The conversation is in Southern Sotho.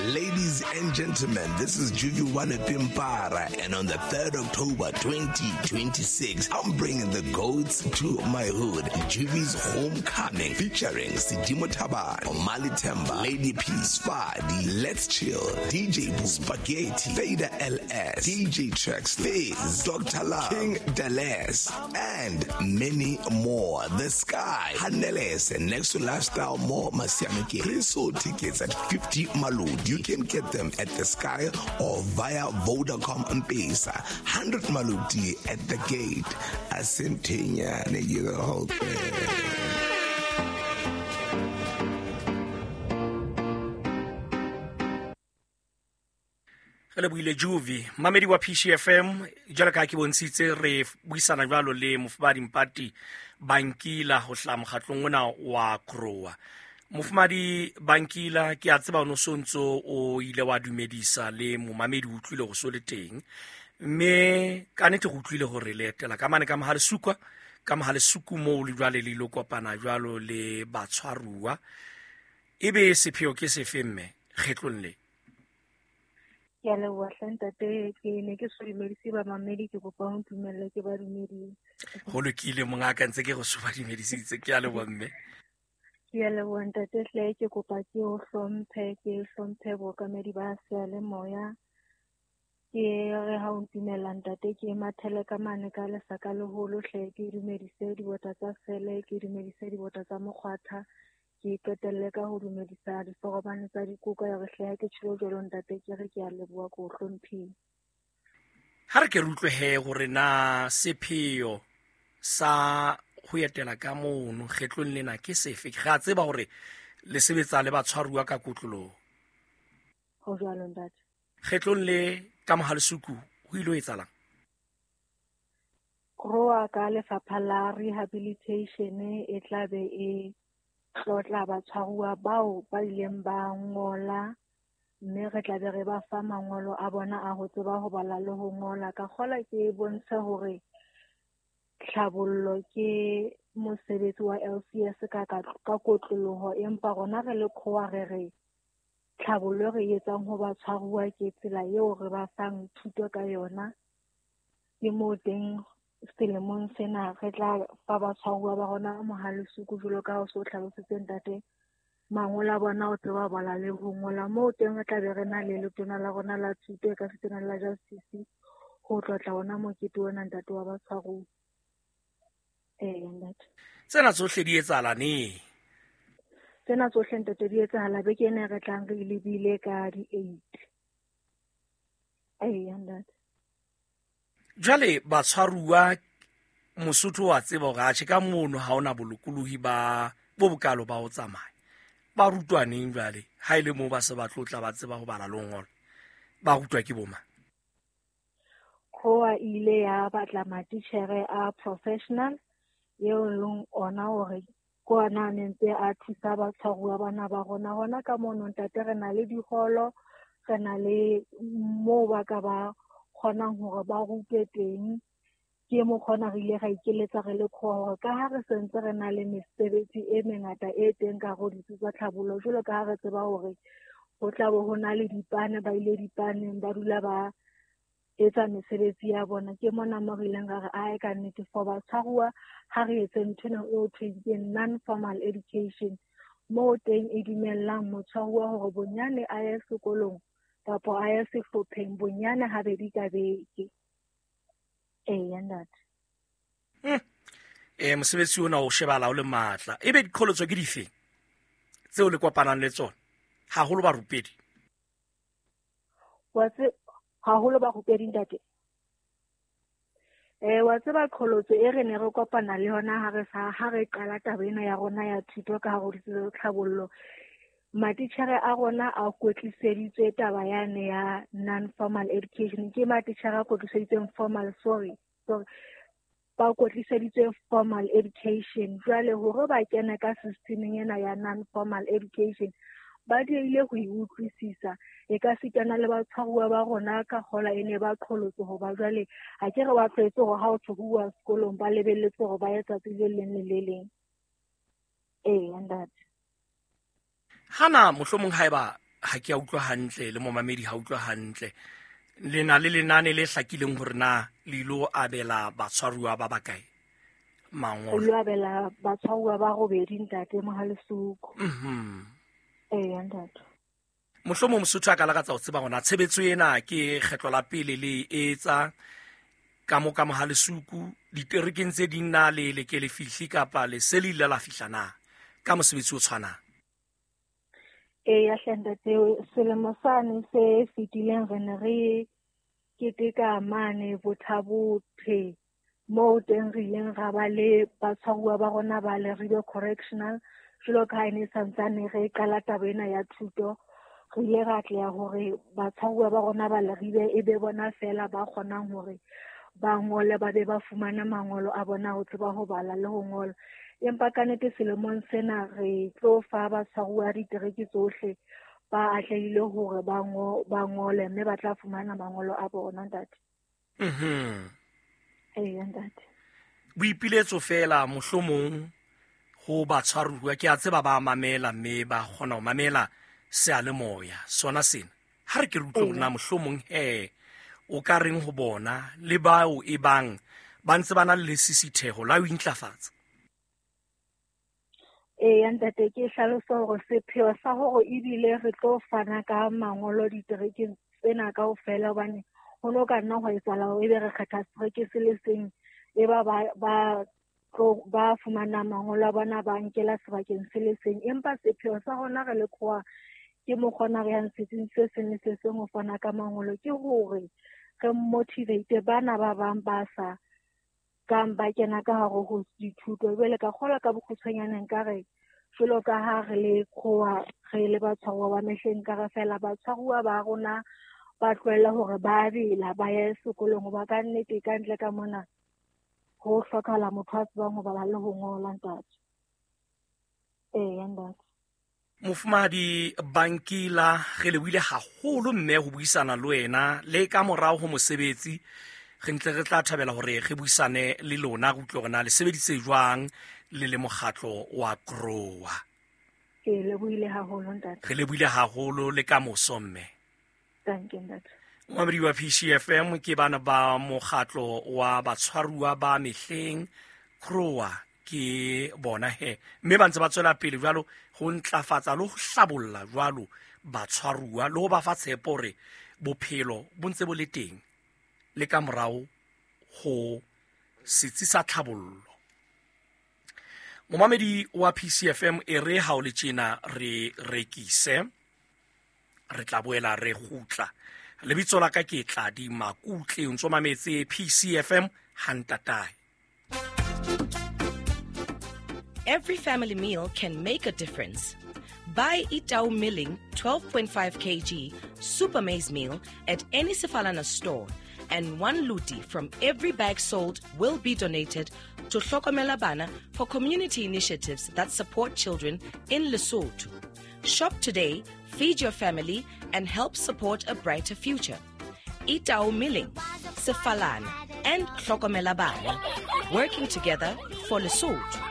Ladies and gentlemen, this is Juju Wane Pimpara, and on the 3rd October 2026, I'm bringing the goats to my hood. Juvi's Homecoming, featuring Sidimo Taban, Omali Temba, Lady P, Spadi, Let's Chill, DJ Boo, Spaghetti, Fader LS, DJ Trex, Fizz, Dr. Love, King Deles, and many more. The Sky, Haneles, and next to Lifestyle More Masiamike. Pre-sold tickets at 50 Malud. You can get them at the Sky or via Vodacom M-Pesa. 100 Maludi at the gate. Asentinya, the whole thing. Re lebohile Juvi, mamedi wa PCFM. Jwalo ka ha ke bontshitse, re buisana jwalo le Mofumadi Mpati Bankila ho hlaha mokgatlong ona wa Krowa. Mofumadi Bankila, ke a tseba o no so ntso o ile wa dumedisa le momamedi, o utlwile go so le teng, mme ka nnete go utlwile gore le etela ka mane ka Mohalesuka, ka Mohalesuku moo le jwale le ilo kopana jwalo le batshwaruwa. Ebe sepheo ke sefe mme kgetlong le? Ke a leboha hle ntate, ke ne ke so dumedise bamamedi, ke kopa o ntumelle ke ba dumedise. Ho lokile mongaka, ntse ke go so ba dumedisitse, ke a leboha mme. Ke a leboha ntate hle, ke kopa ke o hlomphe, ke hlomphe bookamedi ba seyalemoya. Ke re ha o ntumella ntate, ke mathele ka mane ka lesaka leholo hle, ke dumedise dibota tsa sele, ke dumedise dibota tsa mokgwatha, ke qetelle ka ho dumedisa diforomane tsa dikoka. Ya re hle ha ke tjhelo jwalo ntate, ke re ke a leboha, ke o hlomphile. Ha re ke re utlwe he hore na sepheo sa ho etela ka mono kgetlong lena ke sefe. Re a tseba hore le sebetsa le batshwaruwa ka kotloloho. Ho jwalo ntate. Kgetlong le ka Mohalesuku ho ile ho etsahalang? Krowa ka lefapha la rehabilitation e tla be e tlotla batshwaruwa bao ba ileng ba ngola, mme re tla be re ba fa mangolo a bona a ho tseba ho bala le ho ngola. Ka kgola ke bontshe hore tlhabollo ke mosebetsi wa LCS ka kotloloho, empa rona re le Krowa re re tlhabollo re etsang ho batshwaruwa ke tsela eo re ba fang thuto ka yona. Ke moo teng selemong sena re tla fa batshwaruwa ba rona Mohalesuku jwalo ka ha o so hlalositse ntate, mangolo a bona o tseba ho bala le ho ngola. Moo teng re tla be re na le letona la rona la thuto e ka setsena la justice ho tlotla ona mokete ona ntate wa batshwaruwa. Ee, ntate. Tsena tsohle di etsahala neng? Tsena tsohle ntate di etsahala beke ena re tlang re lebile ka di-8. Ee, ntate. Jwale batshwaruwa, Mosotho wa tseba hore atjhe ka mono ha ona bolokolohi ba bo bokalo ba ho tsamaya. Ba rutwa neng jwale? Ha e le moo ba se ba tlotla ba tseba ho bala le ho ngola, ba rutwa ke bo mang? Krowa ile ya batla matitjhere a professional eo leng ona hore ke ona a nentse a thusa batshwaruwa bana ba rona. Hona ka mono ntate re na le diholo, re na le moo ba ka ba kgonang hore ba rutwe teng. Ke mokgona re ile ra ikeletsa re le Krowa hore ka ha re sentse re na le mesebetsi e mengata e teng ka hare ho ditsi tsa tlhabollo, jwalo ka ha re tseba hore ho tla bo ho na le dipane, ba ile dipaneng, ba dula ba etsa mesebetsi ya bona. Ke mona mo re ileng ra re ae ka nnete for batshwaruwa ha re etse ntho ena eo thweng ke non-formal education, moo teng e dumellang motshwaruwa hore bonyane a ye sekolong kapa a ye sehlopheng bonyane habedi ka beke. Eya ntate. Mosebetsi ona o shebala o le matla. Ebe diqholotso ke dife tseo le kopanang le tsona haholo barupedi? Wa haholo barupedi ntate. Wa tseba qholotso e re ne re kopana le yona ha re qala taba ena ya rona ya thuto ka hare ho ditsi tsa tlhabollo, matitjhere a rona a kwetliseditswe taba yane ya non-formal education. Ke matitjhere a kwetliseditsweng formal, sorry, sorry, ba kwetliseditswe formal education. Jwale hore ba kene ka systemeng ena ya non-formal education, ba diehile ho e utlwisisa. E ka sitana le batshwaruwa ba rona ka kgola e ne ba qholotse hoba jwale ha ke re ba tlwaetse hore ha o thwe ho uwa sekolong ba lebelletse hore ba ye tsatsi le leng le le leng. Ee, ntate. Hana mohlomong haeba Ha ke a utlwa hantle le momamedi ha utlwa hantle. Le na le lenane le hlakileng hore na le ilo abela batshwaruwa ba bakae mangolo? Re ilo abela batshwaruwa ba robedi, ntate Mohalesuku. Eya, ntate. Mohlomong Mosotho a ka lakatsa ho tseba hore na tshebetso ena ke kgetlo la pele le e etsa ka mo ka Mohalesuku, diterekeng tse ding na le le ke le fihle kapa le se le ile la fihla na ka mosebetsi o tshwanang? Eya hle ntate, selemo sane se fetileng re ne re keteka mane Bothabothe, moo teng re ileng ra ba le batshwaruwa ba rona ba Leribe Correctional. Jwalo ka ha e ne santsane re qala taba ena ya thuto, re ile ra atleha hore batshwaruwa ba rona ba Leribe e be bona fela ba kgonang hore ba ngole, ba be ba fumane mangolo a bona ho tseba ho bala le ho ngola. Empa ka nnete selemong sena re tlo fa batshwaruwa ditereke tsohle ba atlehile hore ba ngole, mme ba tla fumana mangolo a bona, ntate. Eya, ntate. Boipiletso fela mohlomong ho batshwaruwa, ke a tseba ba mamela mme ba kgona ho mamela seyalemoya sona sena. Ha re ke re utlwe hore na mohlomong he o ka reng ho bona le bao e bang ba ntse ba na le lesisitheho la ho intlafatsa. Eya ntate, ke hlalosa hore sepheo sa hore ebile re tlo fana ka mangolo diterekeng tsena kaofela, hobane ho no ka nna hwa etsahala hore ebe re kgetha setereke se le seng, e ba ba fumanang mangolo a bona ba nkela sebakeng se le seng. Empa sepheo sa rona re le khoa ke mokgona re yang setsing se seng le se seng ho fana ka mangolo, ke hore re motivate bana ba bang ba sa kang ba kena ka hare ho dithuto. Jwale ka kgolwa ka bokgutshwanyane nka re jwalo ka ha re le khoa, re le batshwaruwa ba mehleng, ka re fela batshwaruwa ba rona ba tlohelle hore ba bela ba ye sekolong, hoba ka nnete ka ntle ka mona ho hlokahala motho a tsebang ho bala le ho ngola, ntate. Eya, ntate. Mofumahadi Bankila, re lebohile haholo mme ho buisana le wena le ka morao ho mosebetsi. Re ntle re tla thabela hore re buisane le lona, re utlwe hore na le sebeditse jwang le le mokgatlo wa Grower. Ke lebohile haholo, ntate. Re lebohile haholo le ka moso mme. Thank you, ntate. Momamedi wa PCFM ke bana ba mokgatlo wa batshwaruwa ba mehleng Grower ke bona he, mme ba ntse ba tswela pele jwalo ho ntlafatsa le ho hlabolla jwalo batshwaruwa le ho ba fa tshepo hore bophelo bo ntse bo le teng le ka morao ho setsi sa tlhabollo. Momamedi wa PCFM e re ha o le tjena re rekise, re tla boela re kgutla. Lebitso la ka ke Tladi Makutle, o ntso mametse PCFM hantatae. Every family meal can make a difference. Buy Itau Milling 12.5 kg Super Maize Meal at any Sefalana store, and one luti from every bag sold will be donated to Hlokomela Bana for community initiatives that support children in Lesotho. Shop today, feed your family, and help support a brighter future. Itau Milling, Sefalana, and Hlokomela Bana, working together for Lesotho.